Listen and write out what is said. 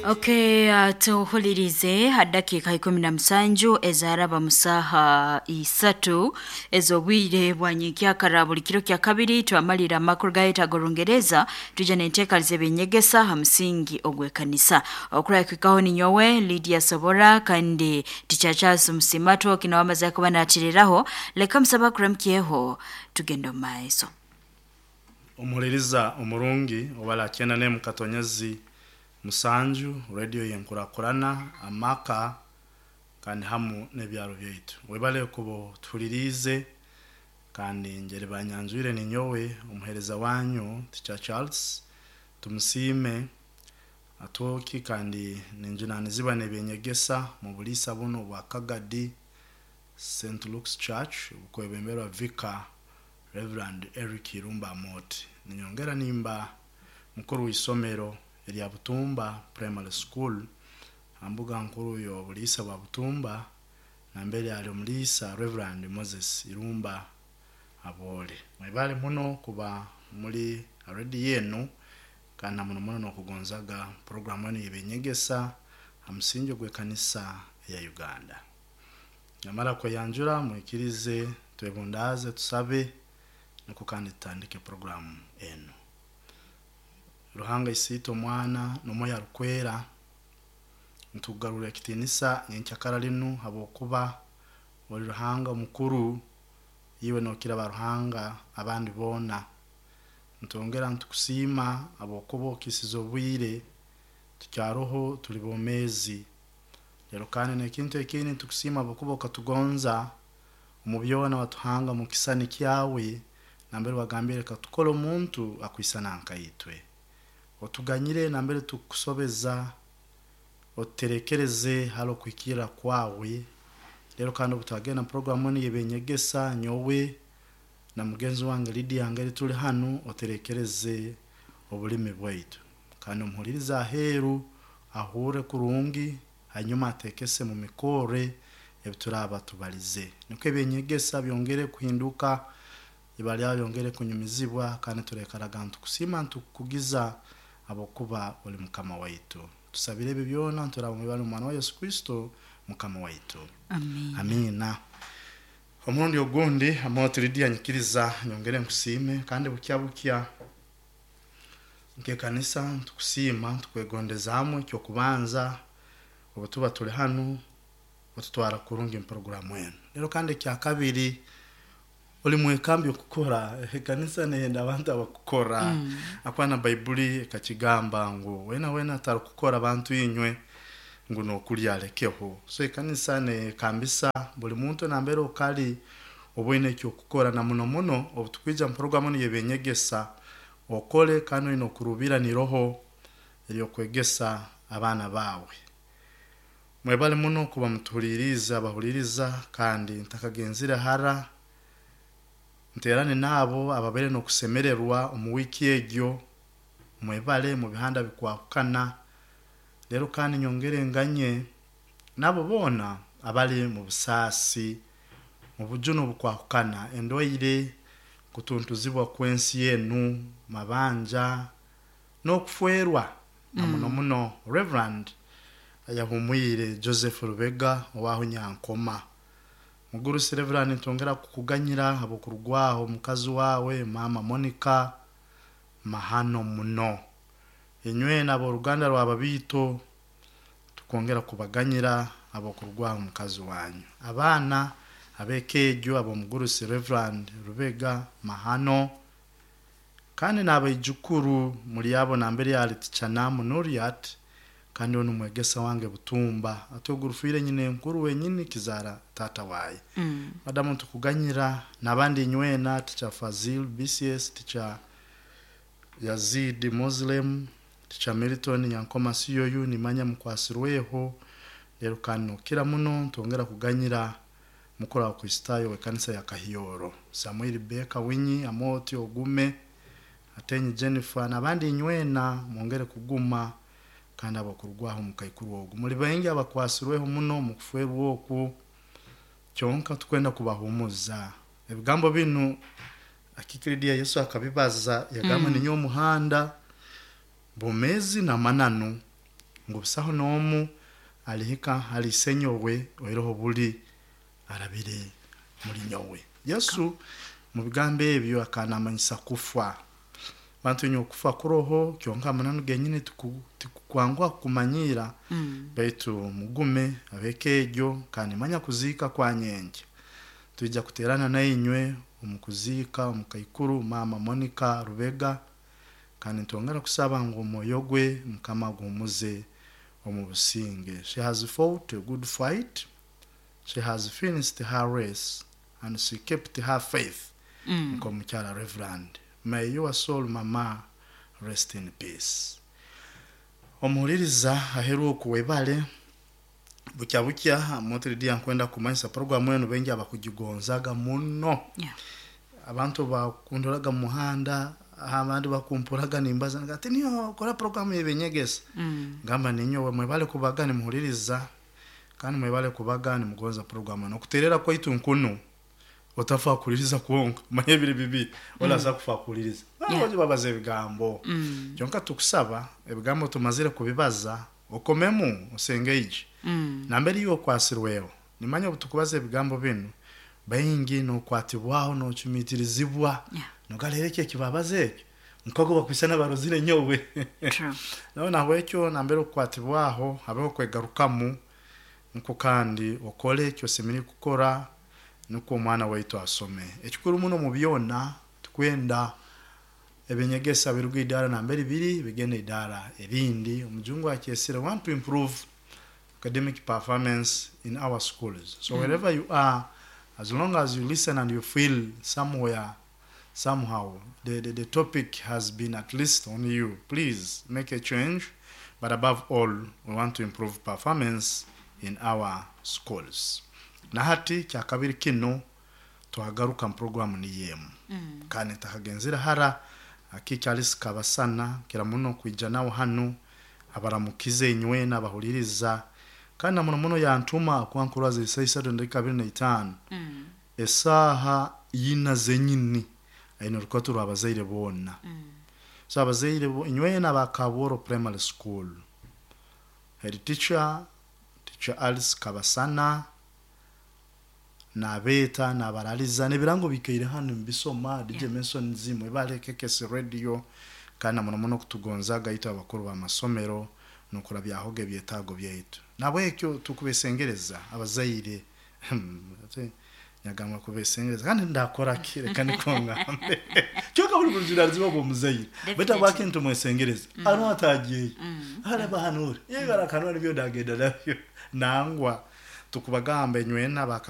Okay, tuhulirize ha dakiika 17 ezaraba mu saaha 3 ez'obwire bwa nyenkyakara. Buli kiro kya kabiri twamalira amakuru gaitu ag'Orungereza, twija n'enteekaniza ebyenyegesa ha musingi ogw'ekanisa. Okurahikaho ninyowe Lydia Sobora kandi Teacher Charles Musimatwo kino wamaze kuba natiriraho. Leka musaba kuramukyeho, tugenda omu maiso. Omuhuliriza omurungi owala 94.7 radio yenkurakurana amaka kandi hamu n'ebyaro byaitu. Webale kuba tuhuliriize, kandi njeri banyanjwire ninyowe omuheereza wanyu Teacher Charles Tumusiime Atwoki, kandi ninjunanizibwa n'ebyenyegesa mu buliisa bunu obwa Kagadi St. Luke's Church obukwebemberwa Vicar Reverend Eric Irumba Amoti. Ninyongera nimba mukuru w'isomero erya Butumba Primary School ha mbuga nkuru y'obuliisa bwa Butumba, nambere ali omuliisa Reverend Moses Irumba Aboole. Mwebale muno kuba muri ha rediyo enu, kandi na muno muno n'okugonzaga puroguramu enu y'ebyenyegesa ha musingi ogw'ekanisa eya Uganda. Namara kweyanjura, mwikirize twebundaaze, tusabe, nukwo kandi tutandike puroguramu enu. Ruhanga Isiitwe, Omwana n'Omwoyo Arukwera, nitukugarurra ekitiinisa nyenkyakara linu habwokuba oli Ruhanga omukuru, iwe nookira baruhanga abandi boona. Nitwongera nitukusiima habwokuba okiisize obwire tukyaroho, tuli bomeezi. Rero kandi n'ekintu ekindi, nitukusiima habwokuba okatugonza omu byona, watuhanga omu kisisani kyawe, nambere wagambire reka tukole omuntu akwisana nkaitwe. Otuganyire nambere tukusobeza, otuterekereze hali okuhikirra kwawe. Rero kandi obu twagenda mu puroguramu enu y'ebyenyegesa, nyowe na mugenzi wange Lydia ngeri tuli hanu, oterekereze obulimi bwaitu. Kandi omuhuliriza aheeru ahurre kurungi, hanyuma ateekese mu mikorre ebi turaaba tubalize. Nukwo ebyenyegesa byongere kuhinduka, ibara lyawe lyongere kunyumizibwa, kandi turaikaraga nitukusiima, nitukukugiza habwokuba oli Mukama waitu. Tusabire ebi byona nturaba mu ibara ly'Omwana wa Yesu Kristo Mukama waitu. Amiina. Amiina. Omurundi ogundi, Amoti Lydia, nyikiriza nyongere nkusiime, kandi bukya bukya nk'ekanisa nitukusiima, nitukwegondezaamu. Ekyokubanza, obu tuba tuli hanu otutwara kurungi mu puroguramu enu. Rero kandi ekyakabiri, oli mwekambi okukora. Ekanisa neyenda abantu abakukora. Akuba na Baibuli ekakigamba ngu wena wena atarukukora, bantu inywe, ngu nokulya alekeho. So ekanisa neyekambisa buli muntu nambere okali oba oine ekyokukora, na muno muno obu tukwija mu puroguramu enu y'ebyenyegesa, okole kandi oine okurubira niroho ery'okwegesa abaana baawe. Mwebale muno kuba mutuhuliriize abahuliriza, kandi ntakagenzire hara, nterane n'abo ababaire n'okusemererwa omu wiiki egyo. Mwebale mu bihanda bikwahukana. Rero kandi nyongere nganye n'abo boona abali mu busaasi, mu bujune obukwahukana, endwaire, kutuntuzibwa kw'ensi enu, mabanja n'okufwerwa, na muno muno Reverend ayahumwire Joseph Rubega owaho Nyankoma. Mugurusi Reverend, nitwongera kukuganyira habw'okurugwaho omukazi wawe Mama Monica. Mahano muno. Inywena ab'oruganda rw'ababiito, tukongera kubaganyira habw'okurugwaho omukazi wanyu. Abaana ab'eka egyo ab'omugurusi Reverend Rubega, mahano. Kandi n'abaijukuru muli abo nambere ali Tichanamu Nuriat, kandi onu mwegesa wange Butumba. Ati ogu rufiire nyina enkuru wenyini kizaara taata waye. Madamu, ntukuganyira n'abandi inywena, Teacher Fazil BCS, Teacher Yazid Muslim, Teacher Milton Nyankoma Siyoyu, nimanya mukwasirweho. Rero kandi nokira muno ntwongera kuganyira mukuru wa Kristayo w'ekanisa ya Kahyoro, Samuel Beka Winyi Amoti ogume, Atenyi Jennifer n'abandi inywena mwongere kuguma, kandi abakurugwaho omukaikuru ogu. Muli baingi abakwasirweho muno mu kufwerwa oku, kyonka tukwenda kubahumuza. Ebigambo binu akikiridia Yesu akabibaza, yagamba, ninyowe omuhanda, bwomezi n'amananu. Ngu busaho n'omu alihika hali Isenyowe oihireho buli arabire muli nyowe. Yesu mu bigambo ebyo akaba naamanyisa kufa. Bantu inywe, okufa kuroho, kyonka amananu genyini tikukwanguha kukumanyiira. Baitu mugume ab'eka egyo, kandi nimanya kuziika kwa nyenkya twija kuteerana nainywe omu kuziika omukaikuru maama Monica Rubega, kandi nitwongera kusaba ngu omwoyo gwe Mukama aguhumuze omu businge. She has fought a good fight, she has finished her race and she kept her faith. Nk'omukyara Reverend, may your soul, mama, rest in peace. Omuhuliriza aheeru oku, webale. Bukya bukya Motiridia, nkwenda kumanyisa programu enu baingi abakugigonzaga muno. Abantu bakundoraga mu muhanda, abandi bakumpuraga nimbaza ati niyo kora programu y'eby'enyegesa. Ngamba ninyowe. Mwebale kubaga nimuhuliriza, kandi mwebale kubaga nimugonza programu enu. Okuterera kwaitu nkunu, otafa kuhuliriza kwonka, manya ebiri bibiri olaza kufa kuhuliriza. Babaza ebigambo kyonka, tukusaba ebigambo tumazire kubibaza okomemu osengeije nambere iwe okwasirweho. Nimanya obu tukubaza ebigambo binu baingi nokwatibwaho, nocumiitirizibwa. Nogalera ekyo ekibabaza ekyo nkogo bakwisana barozire nyowe. Nawe nahabwekyo nambere okukwatibwaho habeho kwegarukamu, nukwo kandi okole ekyo osemeriire kukora nukwo omwana waitu asome. Ekikuru muno mu byona, tukwenda ebinyegesa biruga idaara nambere biri bigenda idaara erindi. Omujungu akyesire, want to improve academic performance in our schools. So wherever you are, as long as you listen and you feel somewhere somehow the topic has been at least on you, please make a change. But above all, we want to improve performance in our schools. Na hati kyakabiri kinu twagaruka mu programu niyo emu. Kandi ntakagenzire hara, akikyalisi kabasana kira muno kwija nawe hanu abaramukize inywena abahuliriza, kandi na muno muno yantuma kuba nkurwaza esaaha 3:25. Esaaha yina zenyini aine orukato rw'abazaire boona. So abazaire inywena aba Kabworo Primary School, head teacher, Teacher Alice Kabasana, nabeeta nabaraliza n'ebirango bikaire hanu nibisoma. DJ Masons, mwebale KKS Radio, kandi na muno muno kutugonzaga itwe abakuru b'amasomero n'okurabyahoga ebyetaago byaitu. Nabwekyo tukubesengereza abazaire. Nyagamba kubesengereza kandi ndakora ki? Reka niko ngambe kyonka buli bujunanizibwa bw'omuzaire, baitu habwaki nitumwesengereza ano atagyeyo araba hanure yebarakanura nibyo ndagenda nabyo. Nangwa tukubagamba enywena.